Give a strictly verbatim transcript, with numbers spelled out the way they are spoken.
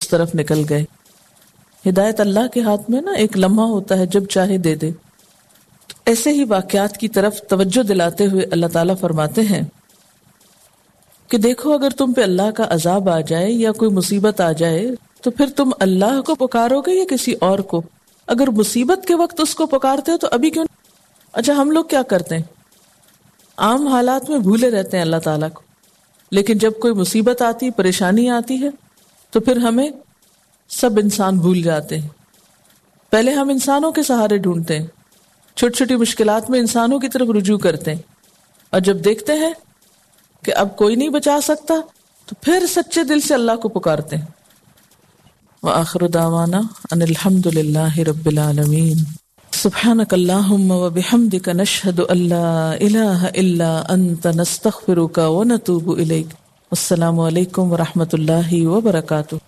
उस तरफ निकल गए। हिदायत अल्लाह के हाथ में ना एक लम्हा होता है, जब चाहे दे दे। तो ऐसे ही वाकयात की तरफ तवज्जो दिलाते हुए अल्लाह ताला फरमाते हैं कि देखो, अगर तुम पे अल्लाह का अजाब आ जाए या कोई मुसीबत आ जाए तो फिर तुम अल्लाह को पुकारोगे या किसी और को? अगर मुसीबत के वक्त उसको पुकारते हो तो अभी क्यों? अच्छा, हम लोग क्या करते हैं, आम हालात में भूले रहते हैं अल्लाह ताला को, लेकिन जब कोई मुसीबत आती, परेशानी आती है, तो फिर हमें सब इंसान भूल जाते हैं। पहले हम इंसानों के सहारे ढूंढते हैं, छोटी छोटी मुश्किलात में इंसानों की तरफ रुजू करते हैं, और जब देखते हैं कि अब कोई नहीं बचा सकता तो फिर सच्चे दिल से अल्लाह को पुकारते हैं। व आखिर दावाना अनिल हम्दुलिल्लाहि रब्बिल आलमीन। सुब्हानक अल्लाहुम्मा व बिहम्दिक नशहदु अल्ला इलाहा इल्ला अंत नस्तगफिरुका व नतूबु इलैक। अस्सलामु अलैकुम व रहमतुल्लाहि व बरकातुहू।